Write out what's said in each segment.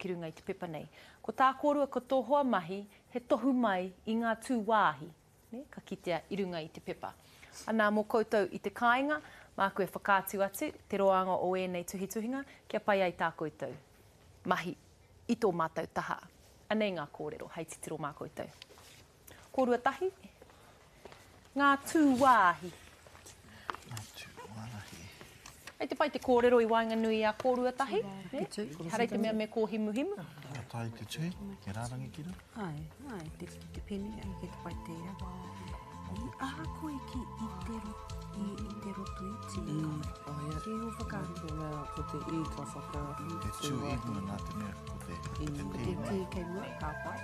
Ki runga i te pepa nei. Ko tā kōrua ko tō hoa mahi he tohu mai i ngā tū wāhi, nē, ka kitea i runga i te pepa. Anā, mō koutou i te kāinga, māku e whakaatu atu te roanga o ēnei tuhituhinga kia pai ai tā koutou mahi i tō mātou taha. Anei ngā kōrero hei titiro mā koutou. Kōrua tahi, ngā tūwāhi. Ngā tūwāhi. Hei te pai te kōrero i waenganui i a kōrua tahi, nē? Ehara i te mea me kōhimuhimu. Ka tae te tuhi, he rārangi ki runga. Āe, āe, te, te pene, āe, kei te pai tērā. I aha koe ki i te, i, i te Rotoiti? Mm, oh, yeah. Ki ō whakaaro? Te mea, ko te i ka whaka... He tū i mua nā te mea ko te, ko te Ko te tī kei mua, ka pai.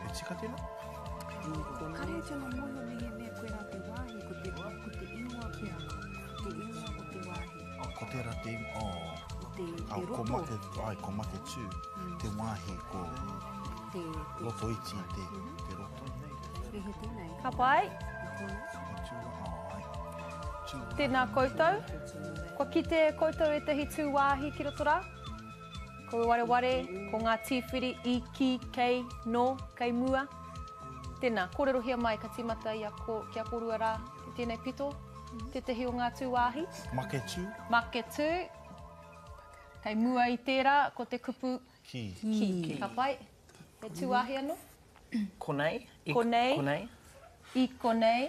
He tika tēnā? Kare e tino mōhio mehemea koirā te wāhi, ko te, ko te ingoa pea, ko te ingoa o te wāhi. Ko tērā te ingoa, oh. Te, te roto. Ko Make, ai, ko Maketū, te wāhi ko te, te, Rotoiti te, te roto. He tēnei. Ka pai. He tū, oh, ai. Tū Tēnā koutou. Kua kite e koutou ētahi tū wāhi ki roto rā? Ko wareware, ko ngā tīwhiri i, ki, kei, nō, kei mua. Tēnā, kōrerohia mai ka tīmata i a ko, ki a kōrua rā i tēnei pito, tētahi o ngā tūwāhi. Maketū. Maketū. Kei mua i tērā, ko te kupu Ki. Ki. Ka pai. He tūwāhi anō? Konei. I konei. Konei. I konei.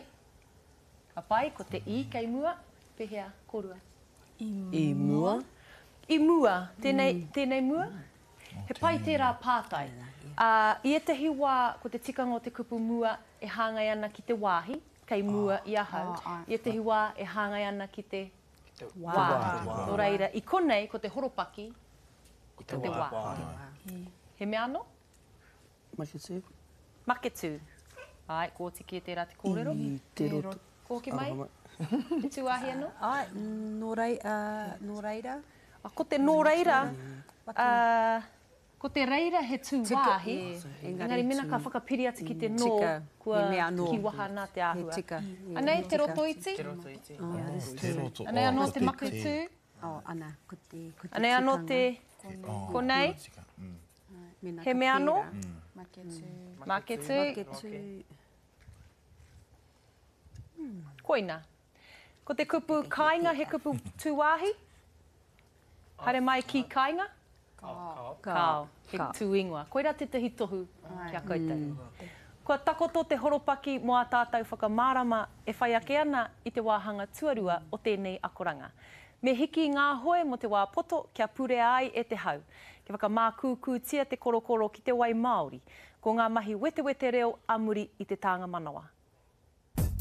Ka pai, ko te i kei mua. Pehea, kōrua? I mua. I mua, tēnei, tēnei mua? He pai tērā pātai. Ā, i ētahi wā, ko te tikanga o te kupu mua e hāngai ana ki te wāhi, kei mua i ahau. I ētahi wā e hāngai ana ki te wā. Nō reira, i konei, ko te horopaki, ko te wā. He mea anō? Maketū. Maketū. Āe, kua oti kē tērā te kōrero. I te roto. Kua hoki mai? Te tūāhi anō? Āe, nō rei, nō reira. Ko te nō reira, ko te reira he tūwāhi, engari mēnā ka whakapiri atu ki te nō, kua kīwaha nā te āhua. Anei te rotoiti. Te rotoiti. Anei anō te maketū. Anei anō te konei. He mea anō? Maketū. Maketū. Koina. Ko te kupu kāinga he kupu tūwāhi? Haere mai ki kāinga? Kāo. Kāo. He tūingoa. Koirā tētahi tohu ki a koutou. Kua takoto te horopaki mō ā tātou whakamārama e whai ake ana i te wāhanga tuarua o tēnei akoranga. Me hiki ngā hoe mō te wā poto kia purea ai e te hau. Kia whakamākūkūtia te korokoro ki te wai māori. Ko ngā mahi wetewete reo a muri i te tānga manawa.